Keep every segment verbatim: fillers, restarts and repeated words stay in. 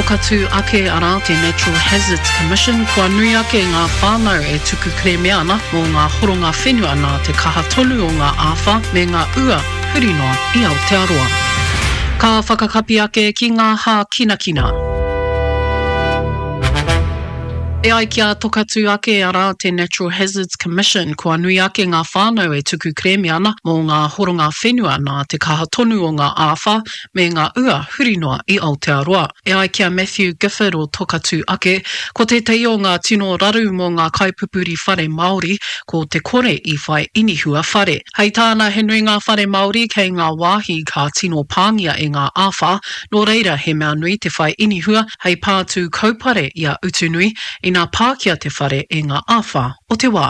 Tokatū Ake, arā, te Natural Hazards Commission, kua nui ake ngā whānau e tuku kerēme ana mō ngā horonga whenua nā te kaha tonu o ngā āwhā me ngā ua huri noa i Aotearoa. Ka whakakapi ake ki ngā hākinakina. E ai ki a Tokatū Ake, arā, te Natural Hazards Commission, kua nui ake ngā whānau e tuku kerēme ana mō ngā horonga whenua nā te kaha tonu o ngā āwhā me ngā ua huri noa i Aotearoa. E ai ki a Matthew Gifford o Tokatū Ake, ko tētahi o ngā tino raru mō ngā kaipupuri whare Māori ko te kore i whai inihua whare. Hei tāna he nui ngā whare Māori kei ngā wāhi ka tino pāngia e ngā āwhā, nō reira he mea nui te whai inihua hei pātū kaupare i a Utunui ina pākia te whare e ngā āwhā o te wā.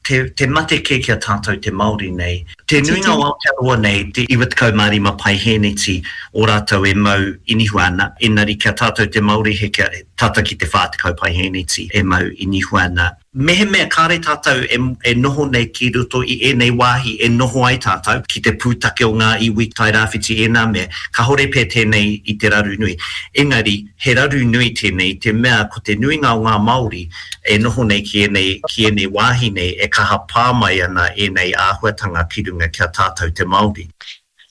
Te, te mate kē ki a tātou te Māori nei. Te nuinga o Aotearoa nei, te iwa tekau mā rima paihēneti o rātou e mau inihua ana, engari ki a tātou te Māori he kia tata ki te whā tekau paihēneti e mau inihua ana. Mehemea kāre tātou e, e noho nei ki roto i ēnei wāhi e noho ai tātou, ki te pūtake o ngā iwi Tairāwhiti ēnā mea, kāore pea tēnei i te raru nui. Engari, he raru nui tēnei i te mea ko te nuinga o ngā Māori e noho nei ki ēnei, ki ēnei wāhi nei e kaha pā mai ana ēnei āhuatanga ki runga ki a tātou te Māori.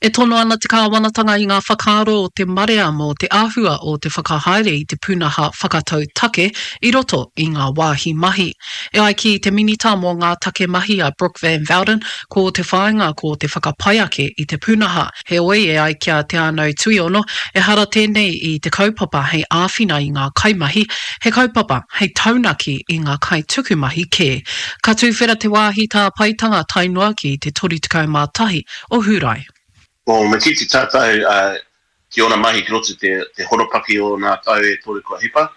E tono ana te kāwanatanga i ngā whakaaro o te marea mō te āhua o te whakahaere i te pūnaha whakatau take i roto i ngā wāhi mahi. E ai ki te Minita mō ngā Take Mahi a Brooke Van Velden, ko te whāinga ko te whakapai ake i te pūnaha. Heoi, e ai ki a Te Anau Tuiono, ehara tēnei i te kaupapa hei āwhina i ngā kaimahi, he kaupapa hei taunaki i ngā kaitukumahi kē. Ka tuwhera te wāhi tāpaetanga tae noa ki te toru tekau mā tahi o Hūrae. Well, me kite tātou uh, ki ōna mahi ki roto te, te horopaki o nā tau e toru kua hipa,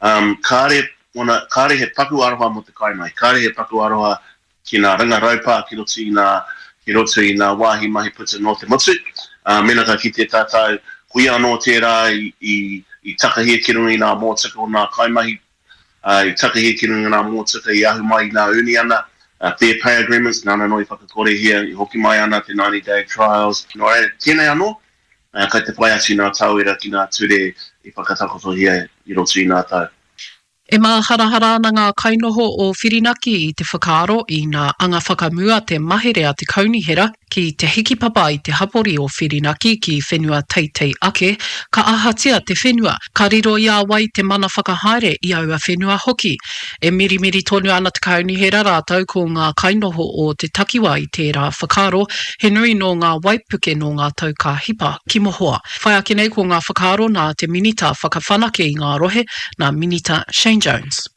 um, kāre, ona, kāre he paku aroha mō te kaimahi, kāre he paku aroha ki nā ringa raupā ki roto i nā, ki roto i nā wāhi mahi puta nō te motu. Uh, mena ka kite tātou, ko ia anō tērā i, i, i takahia ki runga i nā mōtika o nā kaimahi, uh, i takahia ki runga i nā mōtika i ahu mai i nā uniana, uh, fair pay agreements, nāna anō i whakakorehia, i hoki mai ana te ninety day trials. Nō reira, tēnei anō, uh, kai te whai atu nā tauira ki nā ture i whakatakotohia i roto i nā tau. E māharahara ana ngā kainoho o Whirinaki i te whakaaro i nā anga whakamua te mahere a te kaunihera ki te hikipapa i te hapori o Whirinaki ki whenua teitei ake, ka ahatia te whenua, ka riro i a wai te mana whakahaere i aua whenua hoki. E mirimiri tonu ana te kaunihera rātou ko ngā kainoho o te takiwa i tērā whakaaro, he nui nō ngā waipuke nō ngā tau ka hipa ki mohoa. Whai ake nei ko ngā whakaaro nā te minita whakawhanake i ngā rohe, nā Minita Shane Jones.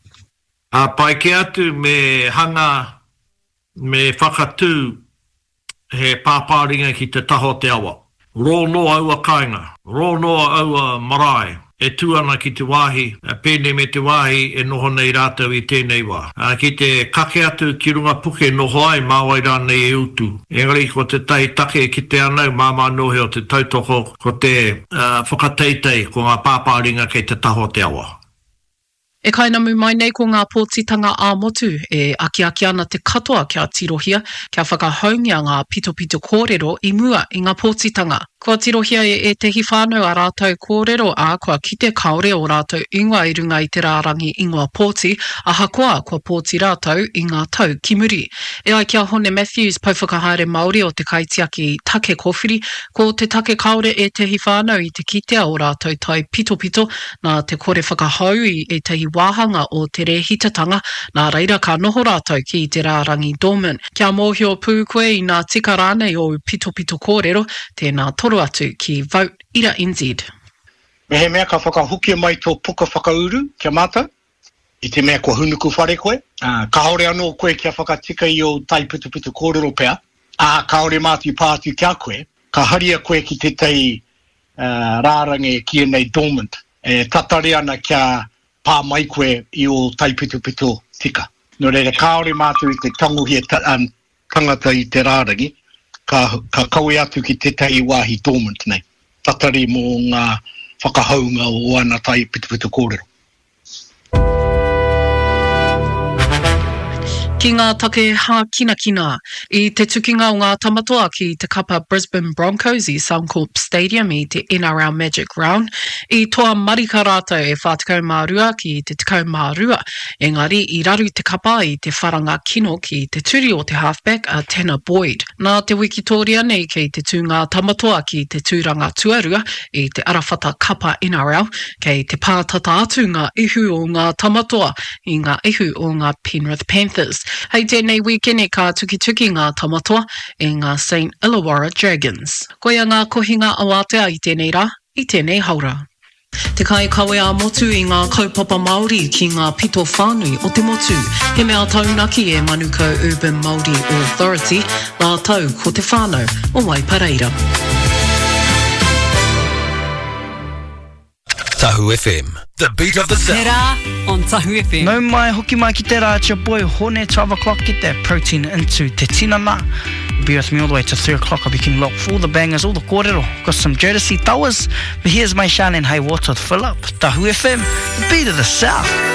Ā, pai kē atu me hanga, me whakatū he pāpāringa ki te taha o te awa. Rō noa aua kāinga, rō noa aua marae e tū ana ki te wāhi, pēnei me te wāhi e noho nei rātou i tēnei wā. Ā, ki te kake atu ki runga puke noho ai, mā wai rānei e utu. Engari ko tētahi take e kite ana au, māmā noa iho te tautoko, ko te whakateitei, ko ngā pāpāringa kei te taha o te awa. E kainamu mai nei ko ngā pōtitanga ā-motu e akiaki ana te katoa kia tirohia, kia whakahoungia ngā pitopito kōrero i mua i ngā pōtitanga. Kua tirohia e ētehi whānau ā rātou kōrero, ā, kua kite kāore ō rātou ingoa i runga i te rārangi ingoa pōti, ahakoa kua pōti rātou i ngā tau ki muri. E ai ki a Hone Matthews, Pouwhakahaere Māori o te Kaitiaki Take Kōwhiri, ko te take kāore ētehi whānau i te kitea ō rātou taipitopito nā te kore whakahou i ētahi wāhanga o te rēhitatanga, nā reira ka noho rātou ki te rārangi dormant. Kia mōhio pū koe inā tika rānei ōu pitopito kōrero, tēnā toro atu ki Vote Ira N Z. Mehemea ka whakahokia mai tō puka whakauru kia mātau, i te mea kua hunuku whare koe, ā, kāore anō koe kia whakatika i ō taipitopito kōrero pea, ā, kāore mātou i pā atu ki a koe, ka haria koe ki tētahi rārangi e kīia nei dormant, e tatari ana kia pā mai koe i ō taipitopito tika. Nō reira, kāore mātou i te tangohia tangata i te rārangi, ka, ka kawe atu ki tētahi wāhi dormant nei, tatari mō ngā whakahounga o ana taipitopito kōrero. Ki ngā take hākinakina, i te tukinga o ngā Tamatoa ki te kapa Brisbane Broncos i Suncorp Stadium i te N R L Magic Round, i toa marika rātou e whā tekau mā rua ki te tekau mā rua, engari i raru te kapa i te wharanga kino ki te turi o te halfback a Tanner Boyd. Nā te wikitoria nei kei te tū ngā Tamatoa ki te tūranga tuarua i te arawhata kapa N R L, kei te pātata atu ngā ihu o ngā Tamatoa i ngā ihu o ngā Penrith Panthers. Hei tēnei wīkene ka tukituki ngā Tamatoa i ngā Saint Illawarra Dragons. Koia ngā kohinga awātea i tēnei rā, i tēnei haora. Te kai kawe a motu i ngā kaupapa Māori ki ngā pito whānui o te motu. He mea taunaki e Manukau Urban Māori Authority, rātou ko te whānau o Waipareira. Tahu F M, the beat of the South. Te rā on Tahu F M. Nau mai, hoki mai ki te rā, it's your boy Hone, twelve o'clock, get that protein into te tinana. Be with me all the way to three o'clock. I'll be keeping locked for all the bangers, all the kōrero. Got some Jodeci Towers, but here's my Shan and Hey Water to fill up. Tahu F M, the beat of the South.